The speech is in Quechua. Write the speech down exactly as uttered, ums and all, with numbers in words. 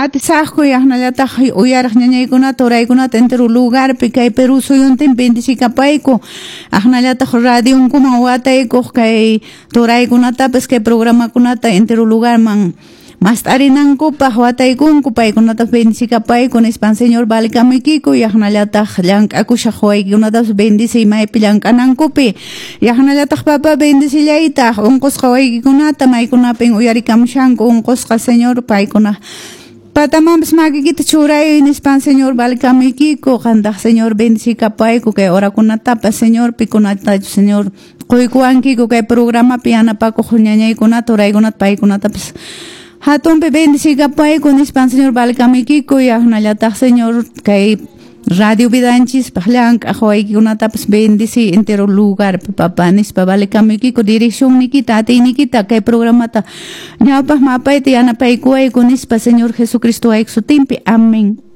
Atisaqku yaqnallataq uyaraq ñañaykunata uraykunata entero lugarpi kay Perú suyuntin bendicikapayku aqnallataq radionkuman wataykuq kay turaykunatapas kay programakunata entero lugarman mast'arinankupaq wataykunku paykunata bendicikapayku nispan Señor valikamuykiku yaqnallataq llank'akushaq waykikunatapas bendiciy maypi llank'anankupi yaqnallataq papa bendicillaytaq unqusqa waykikunata maykunapin uyarikamushanku unqusqa Señor paykuna patamanpas makikita churay nispan Señor valikamuykiku qantaq Señor bendicikapayku kay horakunatapas Señor pikunatachu Señor quykuwankiku kay programapi yanapakuq ñañaykunata uraykunata paykunatapas hatunpi bendicikapayku nispan Señor valikamuykiku yaqnallataq Señor kay radio vidanchispaq llank'aq waykikunatapas bendici entero lugar papá nispa valikamuykiku direccionnikita atiynikita kay programata ñawpaq mapayta yanapaykuwayku nispa Señor Jesucristo wayki sutinpi amén.